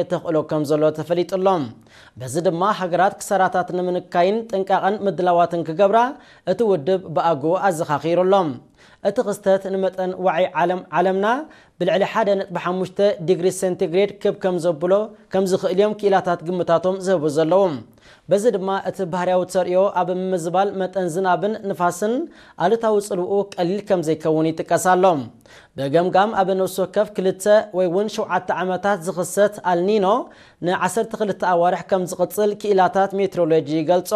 የተኽእሎ ከም ዘሎ ተፈሊጡ ኣሎ። በዚ ድማ ሃገራት ክሳራታት ንምንካይን ጥንቃቐን ምድላዋትን ክገብራ እቲ ውድብ ብኣግኡ ኣዘኻኺሩ ኣሎ። እቲ ክስተት ንመጠን ዋዒ ዓለም ዓለምና ብልዕሊ ሓደ ነጥቢ ሓሙሽተ ዲግሪ ሴንቲግሬድ ክብ ከም ዘብሎ ከም ዝኽእል እዮም ክኢላታት ግምታቶም ዝህቡ ዘለዉ። በዚ ድማ እቲ ባህርያዊ ተርእዮ ኣብ ምምዝባል መጠን ዝናብን ንፋስን ኣሉታዊ ጽልውኡ ቀሊል ከም ዘይከውን ይጥቀስ ኣሎ። ብገምጋም ኣብ ነፍሲ ወከፍ ክልተ ወይ እውን ሸውዓተ ዓመታት ዝኽሰት ኣልኒኖ ንዓሰርተ ክልተ ኣዋርሕ ከም ዝቕጽል ክኢላታት ሜትሮሎጂ ይገልጾ።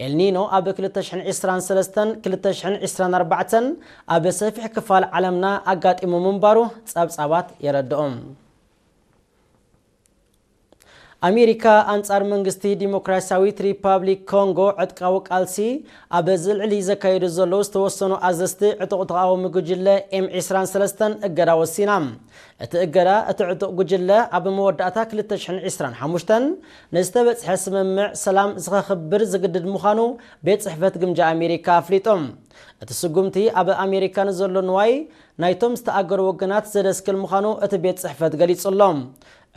ኤልኒኖ ኣብ ክልተ ሽሕን ዕስራን ሰለስተን ክልተ ሽሕን ዕስራን ኣርባዕተን ኣብ ሰፊሕ ክፋል ዓለምና ኣጋጢሙ ምንባሩ ጸብጻባት የረድኦም። ኣሜሪካ ኣንጻር መንግስቲ ዲሞክራሲያዊት ሪፓብሊክ ኮንጎ ዕጥቃዊ ቃልሲ ኣብ ዝልዕሊ ዘካየዱ ዘለዉ ዝተወሰኑ ኣዘዝቲ ዕጡቕ ተቓዋሚ ጉጅለ ኤም ዕስራን ሰለስተን እገዳ ወሲና። እቲ እገዳ እቲ ዕጡቕ ጉጅለ ኣብ መወዳእታ ክልተ ሽሕን ዕስራን ሓሙሽተን ንዝተበጽሐ ስምምዕ ሰላም ዝኸኽብር ዝግድድ ምዃኑ ቤት ጽሕፈት ግምጃ ኣሜሪካ ኣፍሊጡ። እቲ ስጉምቲ ኣብ ኣሜሪካ ንዘሎ ንዋይ ናይቶም ዝተኣገሩ ወገናት ዘደስክል ምዃኑ እቲ ቤት ጽሕፈት ገሊጹ ኣሎ።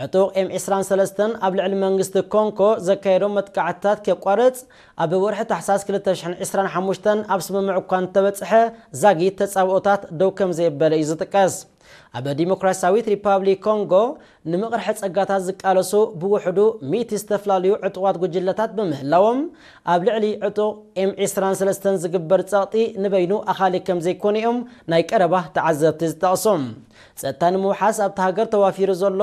ዕጡቕ ኤም ዕስራን ሰለስተን ኣብ ልዕሊ መንግስቲ ኮንጎ ዘካየዶ መጥቃዕትታት ከቋርጽ ኣብ ወርሒ ታሕሳስ ክልተ ሽሕን ዕስራን ሓሙሽተን ኣብ ስምምዕ እኳ እንተበጽሐ ዛጊት ተጻብኦታት ደው ከም ዘየበለ እዩ ዝጥቀስ። ኣብ ዲሞክራሲያዊት ሪፓብሊክ ኮንጎ ንምቕርሒ ጸጋታት ዝቃለሱ ብውሕዱ ሚእቲ ዝተፈላለዩ ዕጡቓት ጉጅለታት ብምህላዎም ኣብ ልዕሊ ዕጡቕ ኤም ዕስራን ሰለስተን ዝግበር ጸቕጢ ንበይኑ ኣኻሊ ከም ዘይኮነ እዮም ናይ ቀረባ ተዓዘብቲ ዝጠቕሱ። ጸጥታ ንምውሓስ ኣብቲ ሃገር ተዋፊሩ ዘሎ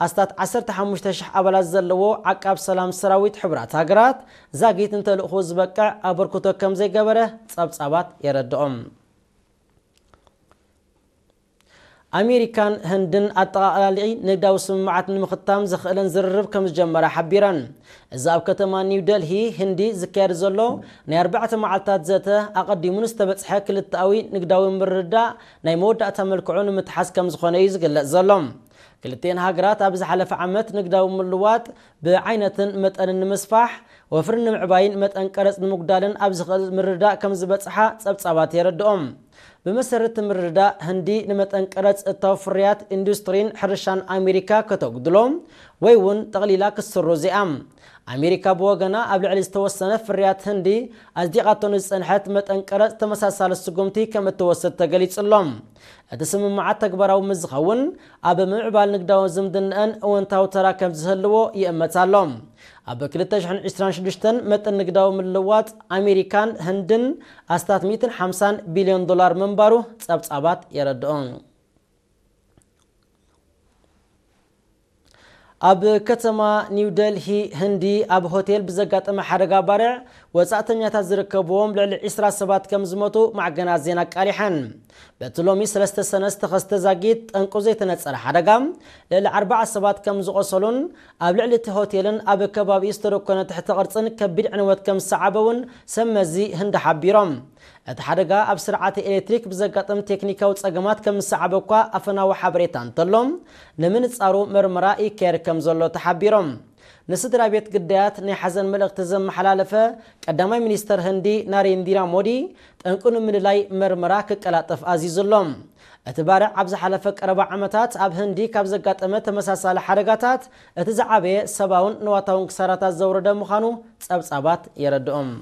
ኣስታት ዓሰርተ ሓሙሽተ ሽሕ ኣባላት ዘለዎ ዓቃብ ሰላም ሰራዊት ሕቡራት ሃገራት ዛጊት ንተልእኾ ዝበቅዕ ኣበርክቶ ከም ዘይገበረ ጸብጻባት የረድኦም። ኣሜሪካን ህንድን ኣጠቓላሊ ንግዳዊ ስምምዓት ንምኽታም ዘኽእለን ዝርርብ ከም ዝጀመራ ሓቢረን። እዚ ኣብ ከተማ ኒው ደልሂ ህንዲ ዝካየድ ዘሎ ናይ ኣርባዕተ መዓልታት ዘተ ኣቐዲሙ ንዝተበጽሐ ክልተኣዊ ንግዳዊ ምርድዳእ ናይ መወዳእታ መልክዑ ንምትሓዝ ከም ዝኾነ እዩ ዝግለጽ ዘሎ። ክልቲኤን ሃገራት ኣብ ዝሓለፈ ዓመት ንግዳዊ ምልዋጥ ብዓይነትን መጠንን ንምስፋሕ፣ ወፍሪ ንምዕባይን መጠን ቀረጽ ንምጉዳልን ኣብ ዝኽእል ምርድዳእ ከም ዝበጽሓ ጸብጻባት የረድኦም። ብመሰረት እቲ ምርድዳእ ህንዲ ንመጠን ቀረጽ እታው ፍርያት ኢንዱስትሪን ሕርሻን ኣሜሪካ ከተጉድሎ ወይ እውን ጠቕሊላ ክትስርዞ እያ። ኣሜሪካ ብወገና ኣብ ልዕሊ ዝተወሰነ ፍርያት ህንዲ ኣጽዲቓቶ ንዝጸንሐት መጠን ቀረጽ ተመሳሳሊ ስጉምቲ ከም እትወስድ ተገሊጹ ኣሎ። እቲ ስምምዓት ተግባራዊ ምስ ዝኸውን ኣብ ምምዕባል ንግዳዊ ዝምድናኣን እወንታዊ ተራ ከም ዝህልዎ ይእመት ኣሎ። ኣብ ክልተ ሽሕን ዕስራን ሽዱሽተን መጠን ንግዳዊ ምልውዋጥ ኣሜሪካን ህንድን ኣስታት ሚእትን ሓምሳን ቢልዮን ዶላር ምንባሩ ጸብጻባት የረድኦ። ኣብ ከተማ ኒው ደልሂ ህንዲ ኣብ ሆቴል ብዘጋጠመ ሓደጋ ባርዕ ወጻእተኛታት ዝርከብዎም ልዕሊ ዕስራ ሰባት ከም ዝሞቱ ማዕገናት ዜና ኣቃሊሐን። በቲ ሎሚ ሰለስተ ሰነ ዝተኸስተ ዛጊት ጠንቁ ዘይተነጸረ ሓደጋ ልዕሊ ኣርባዓ ሰባት ከም ዝቖሰሉን ኣብ ልዕሊ እቲ ሆቴልን ኣብ ከባቢኡ ዝተደኮነ ትሕተ ቅርጽን ከቢድ ዕንወት ከም ዝሰዓበ እውን ሰብ መዚ ህንዲ ሓቢሮም። እቲ ሓደጋ ኣብ ስርዓተ ኤሌክትሪክ ብዘጋጠም ቴክኒካዊ ጸገማት ከም ዝሰዓበ እኳ ኣፈናዊ ሓበሬታ እንተሎ፣ ንምንጻሩ መርመራ ይካየድ ከም ዘሎ ተሓቢሮም። ንስድራ ቤት ግዳያት ናይ ሓዘን መልእኽቲ ዘመሓላለፈ ቀዳማይ ሚኒስተር ህንዲ ናሬንዲራ ሞዲ፣ ጠንቁ ንምልላይ መርመራ ክቀላጠፍ ኣዚዙ ኣሎ። እቲ ባርዕ ኣብ ዝሓለፈ ቀረባ ዓመታት ኣብ ህንዲ ካብ ዘጋጠመ ተመሳሳሊ ሓደጋታት እቲ ዝዓበየ ሰብኣውን ንዋታውን ክሳራታት ዘውረደ ምዃኑ ጸብጻባት የረድኦም።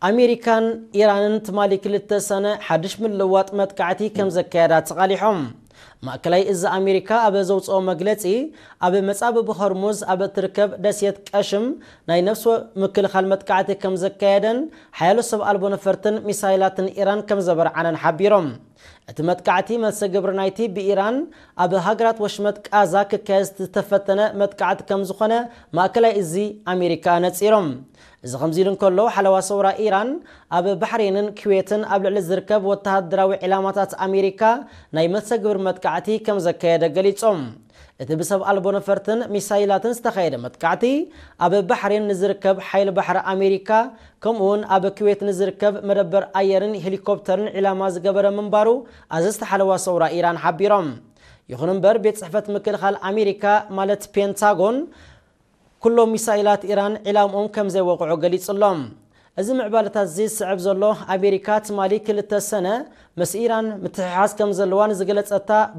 ኣሜሪካን ኢራንን ትማሊ ክልተ ሰነ ሓድሽ ምልውዋጥ መጥቃዕቲ ከም ዘካየዳ ተቓሊሖም። ማእከላይ እዚ ኣሜሪካ ኣብ ዘውፅኦ መግለፂ፣ ኣብ መጻብብ ሆርሙዝ ኣብ እትርከብ ደሴት ቀሽም ናይ ነፍሲ ምክልኻል መጥቃዕቲ ከም ዘካየደን ሓያሎ ሰብ ኣልቦ ነፈርትን ሚሳይላትን ኢራን ከም ዘበርዓነን ሓቢሮም። እቲ መጥቃዕቲ መልሰ ግብሪ ናይቲ ብኢራን ኣብ ሃገራት ወሽመጥ ቃዛ ክካየድ ዝተፈተነ መጥቃዕቲ ከም ዝኾነ ማእከላይ እዚ ኣሜሪካ ነጺሮም። እዚ ከምዚ ኢሉ እንከሎ፣ ሓለዋ ሰውራ ኢራን ኣብ ባሕሬንን ኩዌትን ኣብ ልዕሊ ዝርከብ ወተሃደራዊ ዒላማታት ኣሜሪካ ናይ መልሰ ግብሪ መጥቃዕቲ ከም ዘካየደ ገሊጾም። እቲ ብሰብ ኣልቦ ነፈርትን ሚሳይላትን ዝተኻየደ መጥቃዕቲ፣ ኣብ ባሕሬን ንዝርከብ ሓይሊ ባሕሪ ኣሜሪካ፣ ከምኡውን ኣብ ኩዌት ንዝርከብ መደበር ኣየርን ሄሊኮፕተርን ዒላማ ዝገበረ ምንባሩ ኣዘዝቲ ሓለዋ ሰውራ ኢራን ሓቢሮም። ይኹን እምበር፣ ቤት ጽሕፈት ምክልኻል ኣሜሪካ፣ ማለት ፔንታጎን፣ ኩሎም ሚሳይላት ኢራን ዒላምኦም ከም ዘይወቕዑ ገሊጹ ኣሎ። እዚ ምዕባለታት እዚ ዝስዕብ ዘሎ ኣሜሪካ ትማሊ ክልተ ሰነ ምስ ኢራን ምትሕሓዝ ከም ዘለዋ ንዝገለጸታ